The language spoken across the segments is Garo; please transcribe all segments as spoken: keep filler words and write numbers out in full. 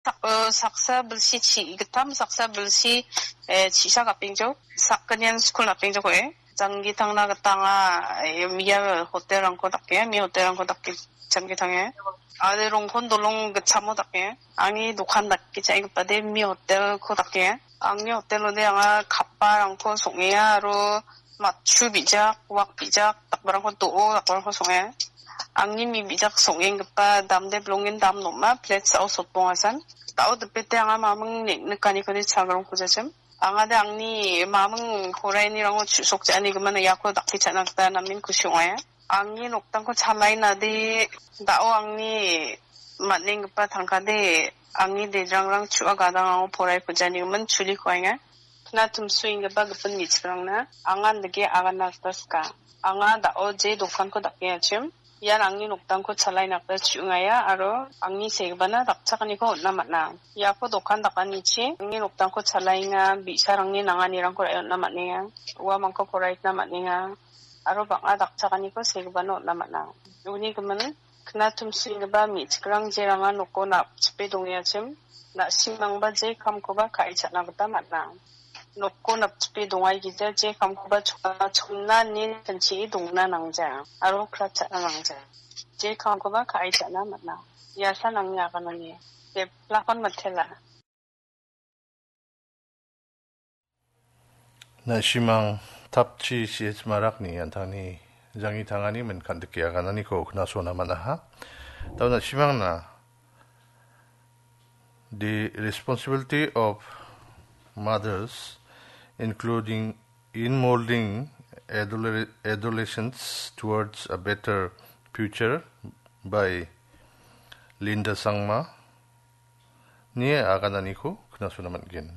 Sak-, eh, saksa bilsi chi-, gittam, saksa bilsi, eh, chisa gapingjok, sakgnian skul napingjok, eh. Janggi tangna gita anga, eh, ia hotel-rangko dake, mi hotel-rangko dake, janggi tange. Ade rongkon dolong gitchamo dake, angni dokan dake cha·engipade mi hotel-ko dake. Angni hotel-ode anga kapparangko song·enga aro matchu bijak, wak bijak, dakbarangko do·o, dakbarangko song·enga. Angni mi bijak song·enggipa damde bilongen dam nom·a, plate sa·o sotbongasan. Da·o dipete anga maming nik-, nikaniko ni chagrongko jachim. Angade angni maming poraianirango chu·sokja·ani gimin iako dakpechakna gita namen kusi ong·aia. Angni noktangko chalainade da·o angni man·enggipa tangkade angni dejrangrang chu·a gadang ango porai kujani gimin chuli kuaenga. Kna tumsu enggipa gipin me·chikrangna angan dake agana gita sika. Anga da·o je dokanko dakengachim. Ian angni noktangko chalaina gita chu·ngaia aro angni segibana dakchakaniko on·na man·a. Iako dokan dakanichi angni noktangko chalaenga, bi·sarangni nanganirangko ra·e on·na man·enga, uamangko poraikna man·enga aro bang·a dakchakaniko segibana on·na man·a. Uni gimin, kna tumsu enggipa me·chikrang jeranga noko napchipe dongengachim, na·simangba je kamkoba ka·e cha·na gita man·a. Noko napchipe dongaigija je kamkoba chona chonna ine kanchee dongna nangja aro kratchakna nangja. Je kamkoba ka·e cha·na man·a. Iasan angni aganani. Deplakon matela. Na·simang Tapchi C H Marakni an·tangni janggi tangani min kan·dike agananiko knasona man·aha. Tau na·simangna The responsibility of mothers, including in molding adole-, adolescents towards a better future by Linda Sangma ni agananiko knasona man·gen.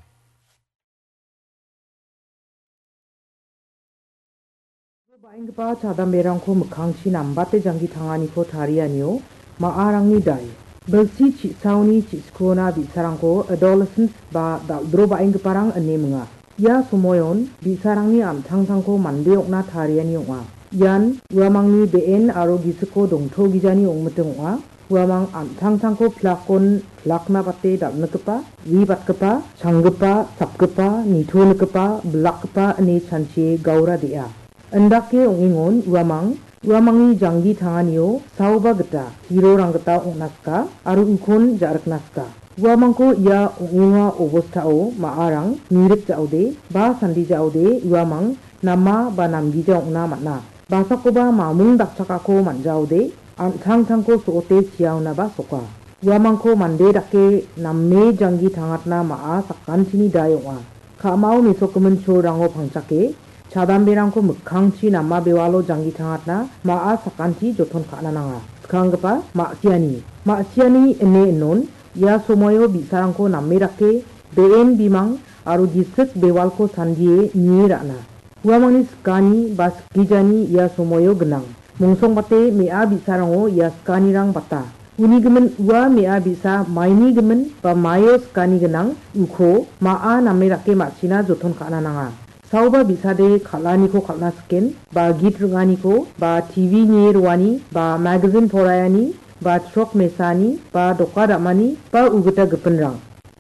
Ba·enggipa chadamberangko mikkangchi nambate janggi tanganiko tarianio ma·arangni dai. Bilsi chi·saoni chi·sikona bi·sarangko adolescents ba dal·dro ba·enggiparang ine minga. Ia somoion bi·sarangni an·tangtangko mande ong·na tariani ong·a. Ian uamangni be·en aro gisiko dongtogijani ong·miting ong·a. Uamang an·tangtangko pilakon pilakna bate dal·nikgipa, wibatgipa, changgipa, sapgipa, nitonikgipa, bilakgipa ine chanchie gaura de·a. Indake ong·engon uamang, uamangni janggi tanganio saoba gita, hirorang gita ong·na sika aro ukon ja·rikna sika. Uamangko ia ong·enga obostao ma·arang mirik ja·ode ba sandi ja·ode uamang nama ba namgija ong·na man·a. Basakoba mamung dakchakako man·jaode, an·tangtangko so·ote siaonaba soka. Uamangko mande dake name janggi tangatna ma·a sakantini dai ong·a. Ka·mao mesokgimin cholrango pangchake, chadamberangko mikkangchi nama bewalo janggi tangatna ma·a sakanti joton ka·na nanga. Skanggipa ma·siani. Ma·siani ine inon, ia somoio bi·sarangko name dake, be·en bimang aro gisik bewalko sandie nie ra·na. Uamangni sikani ba sikgijani ia somoio gnang. Mongsongbate me·a bi·sarango ia sikanirang bata. Uni gimin ua me·a bi·sa maini gimin ba maio sikani gnang uko ma·a name dake ma·sina joton ka·na nanga. Saoba bi·sade kal·aniko kal·na siken, ba git ring·aniko, ba T V nie roani, ba magazin poraiani, ba chrok mesani, ba doka dam·ani, ba ugita gipinrang.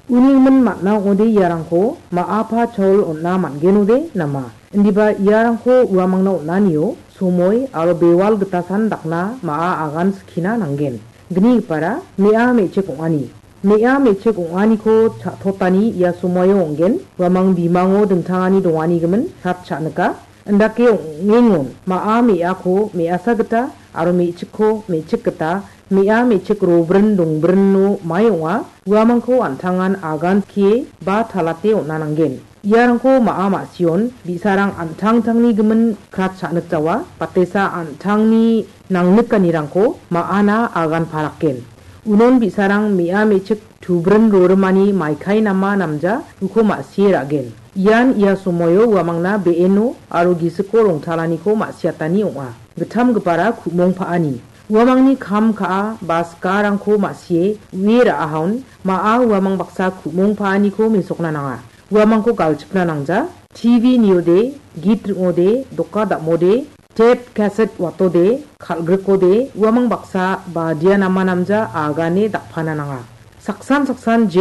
Uni gimin man·a ong·ode iarangko ma·apa chaol on·na man·genode nama? Indiba iarangko uamangna on·anio somoi aro bewal gitasan dakna ma·a agan skina nanggen. Gnigipara me·a me·chik ong·ani. Me·a me·chik ong·aniko cha·totani ia somoio ong·gen. Uamang bimango dingtangani dongani gimin kat cha·nika. Indake ong·engon ma·a me·ako me·asa gita aro me·chikko me·chik gita me·a me·chik robrin dongbrinno mae ong·a. Uamangko an·tangan agan skie ba talate on·a nanggen. Iarangko ma·a ma·sion bi·sarang an·tangtangni gimin krat cha·nikjawa, batesa an·tangni nangnikanirangko ma·ana agan parakgen. Unon bi·sarang me·a me·chik tubrin rorimani maikai nama namja uko ma·sie ra·gen. Ian ia somoio uamangna be·eno aro gisiko rongtalaniko ma·siatani ong·a. Gittamgipara ku·mong pa·ani. Uamangni kam ka·a ba sikarangko ma·sie ue ra·ahaon ma·a uamang baksa ku·mong pa·aniko mesokna nanga. Uamangko galchipna nangja, T V niode, git ring·ode, doka dam·ode, tep kaset watode, kal·grikode, uamang baksa badia nama namja agane dakpana nanga. Saksan saksan je